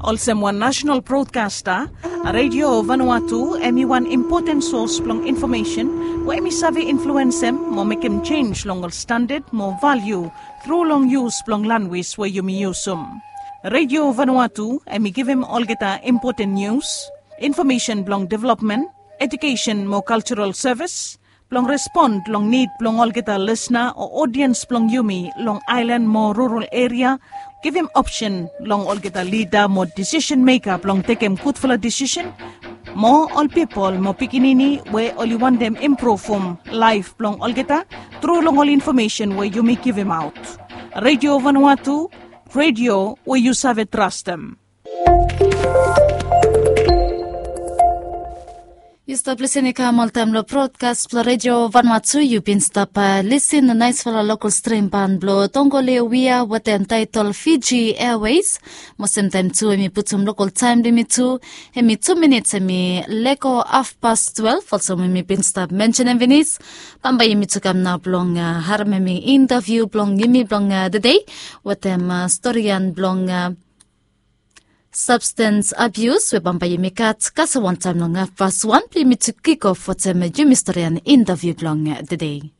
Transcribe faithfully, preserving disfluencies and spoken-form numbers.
Olsem wan nasenal brodkasta, Redio Vanuatu em i wan impoten sos blong infomesen we em i save influensem mo mekem jenis long ol standad mo valiu tru long yus blong lanwis we yumi yusum. Redio Vanuatu em i givim olgeta impoten nius, infomesen blong developmen, ejukesen mo kaljaral sevis, blong respon long nid blong olgeta lisna o odiens blong yumi long aelan mo rural eria, givim opsen long olgeta lida mo disisen meka blong tekem gudfala disisen, mo ol pipol mo pikinini we oli wantem impruvum laef blong olgeta tru long ol infomesen we yumi givimaot. Redio Vanuatu, redio we yu save trastem. Yu stap lisin i kam oltaem long brodkas blong Redio Vanuatu. Yu bin stap lisin long naesfala lokal strim ban blong Tongoli Wia wetem taetol Fiji Airways. Mo semtaem tu em i putum lokal taem blong yumi tu. Em i tu minits em i lego hafpas twelef, olsem we mi bin stap mensenem finis. Bambae yumi tu kam nao blong haremem i intaviu blong yumi blong tede wetem storian blong sabstens abius we bambae yumi gat kasem wantaem long hafpas wan blong yumi tu kikof wetem yumi storian intaviu blong tede.